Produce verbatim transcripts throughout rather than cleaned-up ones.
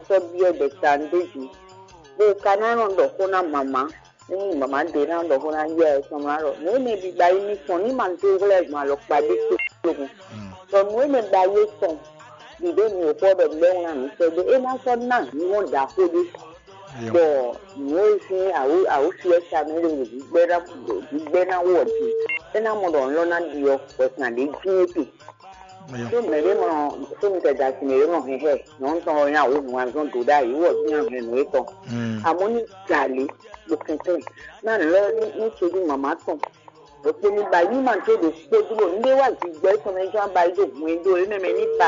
sɔ́ byɔ́ ɖɛkpɛ ɖ'é jí, bó ka ná nɔ ɖɔ xó ná mama, ní mama ɖě ná ɖɔ xó ná yá ɛ tɔn ná ɖɔ nǔ énɛ́ bǐ ba yi ní fɔn ní ma dó hwlɛ́ gbɔn alɔkpa ɖé tó lógun. Bɔ nǔ énɛ́ ba yi fɔn ɖiɖe nǔ xɔ ɖɔ lɛ́ wlán nǔ sɛ́ dó é ná sɔ́ ná nyɔ́ ɖaxó ɖé. Bɔ nǔ e sín awǔ awǔ fiɛ sa mɛ ɖo ɖigbɛ ná ɖigbɛ ná wɔ din, é ná mɔ ɖɔ nlɔ́ ná ɖi ɔ wɛ kan ɖě dín é te. Tó mɛ ɖé mɔ tó mi tɛ da sin ɖé mɔ hɛn hɛ nyɔ̌nu tɔn ɔ́ nyá wǒ nu azɔn dǒ ɖ'ayǐ wɔ sín ahɛn nǔ étɔn. Amɔ̌ ní galě ɖo kɛnklɛ́n ná lɔ ní ní todí mama tɔn ɖo kpé ní ba yí ma tó ɖo kpó dúró ní ɖé wá gbígbɛ tɔn mɛ jɔn ba yi ɖo hwɛndo é mɛ mɛ ní ba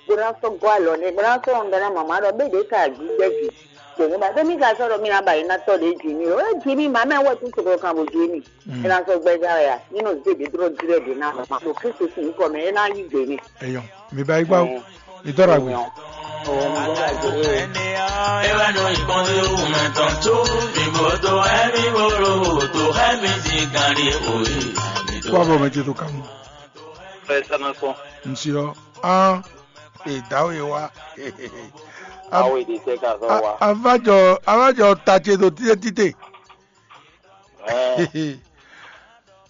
bó ná sɔ́ gɔ́ alɔ n'i bó ná sɔ́ ɔ́ ná mama ɖɔ bé ɖě ka gbígbɛ jì. Bɔ ní ba ɖé mí ka sɔ́ ɖɔ mí ná ba yi ná tɔ́ ɖě jì mí o é jì mí mama wɛ tún sɔgɔ kan bó jì mí. Ena sɔ gbɛja ya nínú zéde dúró dirɛ dè ná ma ɖo Kristo sín nyǐkɔ mɛ é ná yí gbè ní. Eyɔn, mi ba yi gbá o. Mi dɔ́ ɖagbe. Ewɛ ɖo ìbọn lé wù mɛ tɔn tó mi bò tó ɛmí bòrò tó ɛmí di gan ɖi òye. Kó abọ́ mɛ ce tó kàmú. Fɛ sɛnɛ kpɔn. Ŋsi ɔ, an, e dawo ye wa. Awo èdè tɛ ka sɔ wa. Avajɔ avajɔ ta ce tó títɛ títɛ. Ɛɛ.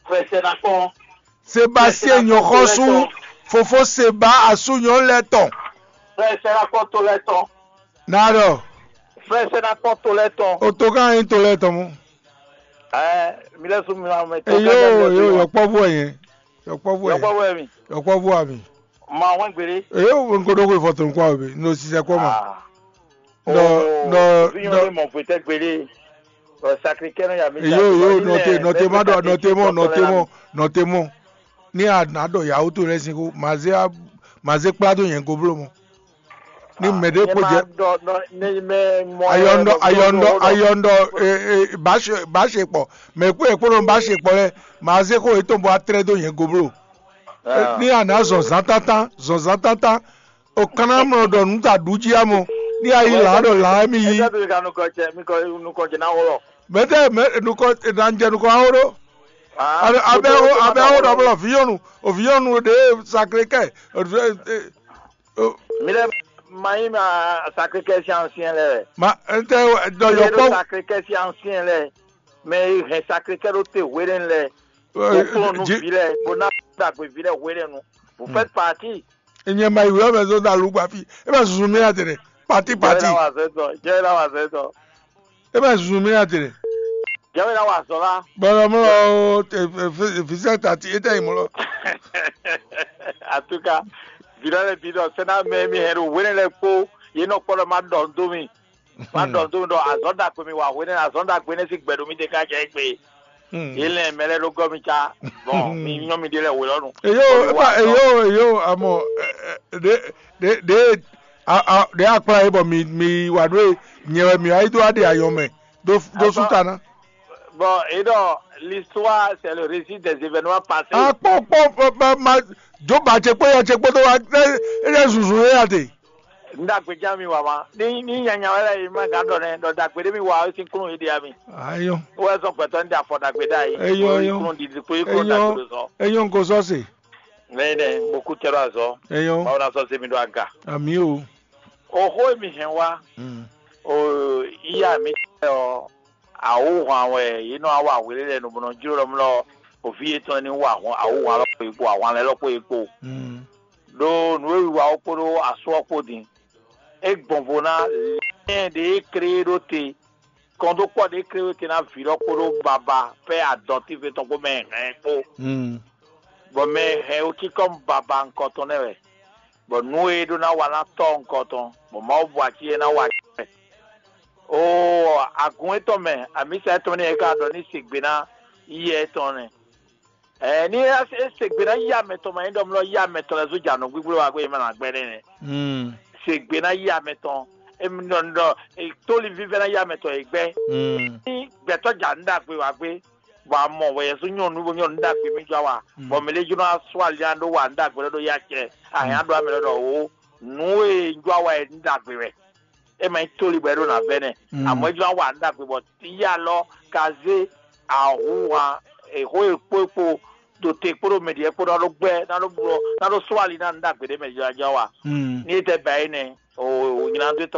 Fɛ sɛnɛ kpɔn. Seba sí èèyàn xɔ sú fofó Seba asúnyɔ lɛ tɔn. Fɛ sɛnɛ kpɔn tó lɛ tɔn. Nàdɔ. Fɛ sɛnɛ kpɔn tó lɛ tɔn. O tó ká yín tó lɛ tɔn mú. Ɛɛ, mi lɛ sún mi ma mɛ tó ká Eyo yín eyo lɛ tɔn. Yɔkpɔvu ɛ yẹn. Yɔkpɔvu ɛ. Yɔkpɔvu ɛ mi. Yɔkpɔvu ami. Ma wɛn gbede. Eyo nkoɖo ko ifɔ tó nkwa obe. No sisɛ kɔ ma. Ah. Nɔ nɔ Vinyɔn nɔ. Lé mɔ fwetɛ gbede. Ɔ sakri kɛnɛ ya mi. Eyo eyo nɔte nɔte ma ɖɔ nɔte mɔ nɔte mɔ nɔte mɔ. Ní a nǎ ɖɔ yǎwó towe lɛ́ɛ sín xó, mǎ zé á mǎ zé kplá dó nyɛ go bló mɔ. Ní mɛ̌ ɖé kpo jɛ ayɔndɔ ayɔndɔ ayɔndɔ bá ṣe kpɔ, mɛ kpó yɛ kpó nɔ bá ṣe kpɔ lɛ, mǎ zé xó yětɔn bó wá tlɛ́ dó nyɛ go bló. Ní a nǎ zɔn zǎntántán zɔn zǎntántán, o kan ná mlɔ ɖɔ nǔ ta ɖu jí amɔ, ní a yí lǎ ɖɔ lǎ émí yí. Ɛsɛ bi ka nukɔ cɛ mi kɔ nukɔ cɛ na wɔlɔ. Mɛtɛ mɛ nukɔ nanjɛ nukɔ awo ɖo. Abɛ awo abɛ awo ɖɔ blɔ viyɔnu oviyɔnu ɖe sakre kɛ. Mi lɛ ma yi ma sakre kɛ si ancien lɛ. Ma ntɛ dɔ yɔ kpɔ. Sakre kɛ si ancien lɛ. Mɛ hɛn sakre kɛ ɖo te hwelɛn lɛ. Kplɔn nu vi lɛ bo na dagbe vi lɛ hwelɛn nu. Vous faites partie. Enyɛ ma yi wɛ mɛ zɔn da lu gba fi. E ma susu mi ate ɖe. Pati pati. Jɛ la wa zɛ tɔ. Jɛ la wa zɛ tɔ. E ma susu mi ate ɖe. Jɛ la wa zɔ la. Bɔlɔ mlɔ o fisɛ tati e tɛ yi mlɔ. Atuka. Vidɔ le vidɔ sɛnɛ mɛ mi hɛn ɖo wele lɛ kpo ye nɔ kpɔ ɖɔ ma ɖɔ do mi. Ma ɖɔ do mi ɖɔ azɔn dagbe mi wa hwene azɔn dagbe ne si gbɛɖo mi de ka jɛ egbe. Ilẹ̀ mɛ lɛ ɖo gɔmi tsa. Bɔn mi nyɔ mi ɖe lɛ wòlɔ nu. Eyo eba eyo eyo amɔ ɖe ɖe ɖe ɖe akpla ye bɔ mi mi wa ɖo ye nyɛ wɛ mi ayi do aɖe ayɔ mɛ do do su ta na. Bon, et donc, l'histoire, c'est le récit des événements passés. Akpɔ kpɔ ma jo ba ce kpɔ ya ce kpɔ do wa e e zunzun ye ya de. N ɖagbe ján mi wa ma. Ní ní nyanya wɛ lɛ yi ma gán ɖɔ nɛ ɖɔ ɖagbe ɖé mi wa ɔ́ sín kúnnu yi ɖi ami. Ayɔ. Wɛ zɔn gbɛtɔ ní ɖe afɔ ɖagbe ɖe ayi. Eyɔ eyɔ. Kúnnu ɖiɖi kó yi kúnnu ɖagbe ɖo sɔ. Eyɔ nko sɔ se. Lẹ́yìn náà, mo kú tẹ́lọ̀ azọ́. Eyɔ. Báwo la sọ sí mi ɖo aga? Ami o. Oxó mi hɛn wá. Mm. O iya mi tẹ́ ọ. Awuhan wɛ yě nɔ wá wa hwelé lɛ nǔbɔnɔ jló ɖɔ mlɔ òfí yětɔn ní wa awuhan lɔ kpo yi kpo ahwan lɛ lɔ kpo yi kpo. Mm. Ɖo nǔ e wiwa ɔ́ kpódó asú ɔ́ kpó din. É gbɔn vo ná lɛ́n ɖě é klé ɖó te, kɔndókpɔ́ ɖě é klé ɖó te ná vǐ lɔ kpódó baba pɛ́ adɔntíve tɔn kpó mɛ hɛn kpó. Bɔ mɛ hɛn wú kíkɔ́ baba nukɔn tɔn nɛ́ wɛ, bɔ nǔ e é ɖó ná wa ná tɔ́ nukɔn tɔn, bɔ Mawu bu ací é ná wa acɛ. Oo, agun étɔn mɛ, amǐsa étɔn nɛ́ é ka ɖɔ ní se gbe ná yíyɛ étɔn nɛ́. Ɛɛ ní é se gbe ná yí amɛ tɔn ma nyí ɖɔ mlɔ yí amɛ tɔn lɛ́ɛ zó jɛ anɔ̌ gbígbó wa gbé ma nǎ gbɛ́ nɛ́ nɛ́. Se gbe ná yí amɛ tɔn émi ɖɔ ní ɖɔ tóli vívɛ́ ná yí amɛ tɔn e gbɛ́. Ní gbɛtɔ́ ja nǔ ɖagbe wa gbé, bɔ a mɔ wɛ Yɛsu nyɔ́ nǔ bó nyɔ́ nǔ ɖagbe mì jɔ wa, bɔ mɛ ɖé jló ná sú ali ná ɖó wa nǔ ɖagbe lɛ́ɛ ɖó yá cɛ, a hɛn ná ɖó amɛ lɛ́ɛ ɖɔ wǒ nǔ e un jɔ wa wɛ nǔ ɖagbe wɛ. É ma nyí tóli bɔ é ɖó ná vɛ́ nɛ́. Amɔ̌ é jló ná wa nǔ ɖagbe bɔ yí alɔ ka zé ahǔnwan exó e kpó e kpo ɖo te kpódó mɛ ɖiɛ kpódó ná ɖó gbɛ́ ná ɖó blɔ ná ɖó sɔ́ ali ná nǔ ɖagbe ɖé mɛ jlá jlá wa. Ní é tɛ bɛ ayé nɛ́ o nyina dó tɔn